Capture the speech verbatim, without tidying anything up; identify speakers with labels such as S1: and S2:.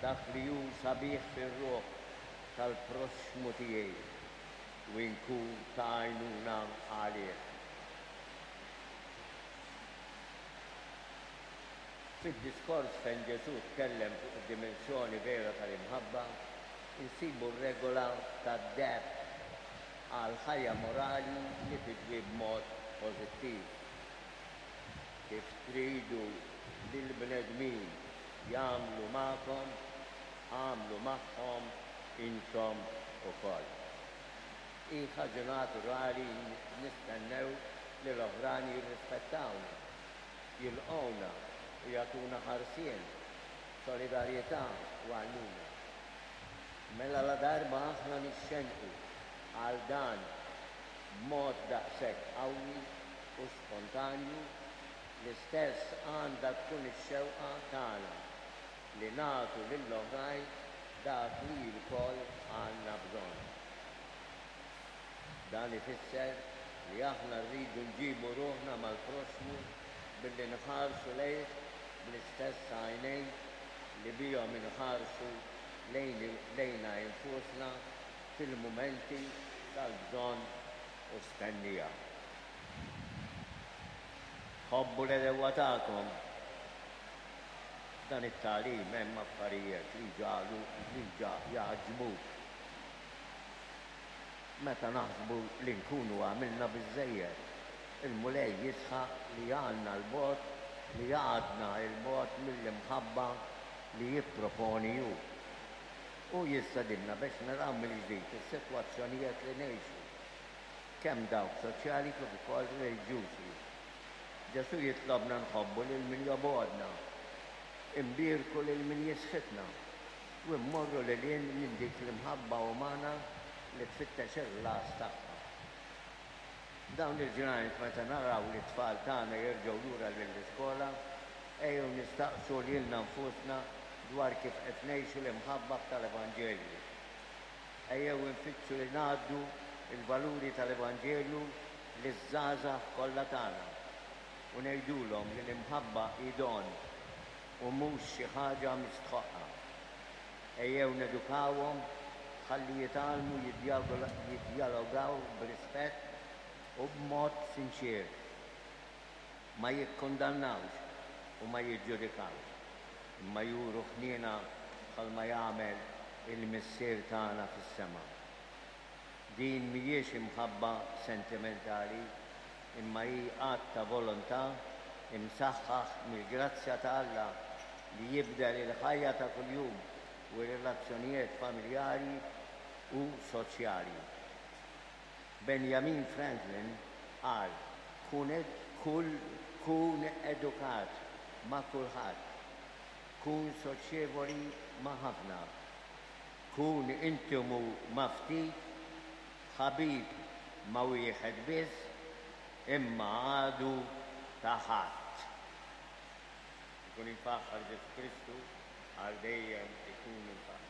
S1: dak li hu sabiħ fir-ruħ tal-proxxmu tiegħi u nkun ta' għajnuna għalih. Fid-diskors fejn Ġesù tkellem fuq id-dimensjoni vera tal-imħabba, insibu r-regola tad-deheb għal ħajja morali li tidwi b'mod pożittiv. Kif tridu li l-bnedmin jagħmlu magħkom, agħmlu magħhom intom ukoll. Hi ħaġa naturali nistennew li l-oħrajn jirrispettawna, jilqgħuna u jagħtuna ħarsien, solidarjetà u għajnuna. Mela ladarba aħna nixxenqu għal dan b'mod daqshekk qawwi u spontanju, l-istess għandha tkun ix-xewqa tagħna li nagħtu lill-oħrajn dak li lkoll għandna bżonn. Dan ifisser li aħna rridu nġibu ruħna mal-proxxmu billi nħarsu lejh bl-istess għajnejn li bihom inħarsu lejna infusna fil-mumenti tal-bżonn u stennija. Ħobbu l-għedewwa tagħkom. Dan it-tagħlim hemm affarijiet li ġalu li jgħaġġbuk. Meta naħsbu li nkunu għamilna biżżejjed, il-Mulej jisħaq li għandna 'l bogħod li għadna 'l bogħod mill-imħabba li jipproponi hu. U jistedinna biex naraw mill-ġdid is-sitwazzjonijiet li ngħixu, kemm dawk soċjali kif ukoll reliġjużi. Ġesù jitlobna nħobbu lil min jobgħodna, imbierku lil min jisħitna, u mmorru lil hinn minn dik l-imħabba umana li tfittex il-ħlas tagħha. Dawn il-ġranet meta naraw li t-tfal tagħna jerġgħu lura lill-iskola, ejjew nistaqsu lilna nfusna dwar kif qed ngħixu l-imħabba tal-Evanġelju. Ejjew infittxu li ngħaddu il-valuri tal-Evanġelju liż-żgħażagħ kollha tagħna u ngħidulhom li l-imħabba hi don u mhux xi ħaġa mistħoqqa. Ejjew nedukawhom ħalli jitgħallmu jiddjalogaw b'rispett u b'mod sinċier. Ma jikkundannawx u ma jiġġudikawx, imma juru ħniena bħalma jagħmel il-Missier tagħna fis-sema. Din mhijiex imħabba sentimentali, imma hi att ta' volontà imsaħħaħ mill-grazzja ta' Alla li jibdel il-ħajja ta' kuljum u r-relazzjonijiet familjari u soċjali. Benjamin Franklin qal kun, kull, kun edukat ma' kulħadd, kun soċjevoli ma' ħafna, kun intimu ma' ftit, ħabib ma' wieħed biss, imma għadu ta' ħadd. Ikun imfaħħar Ġesù Kristu, għal dejjem ikun imfaħħar.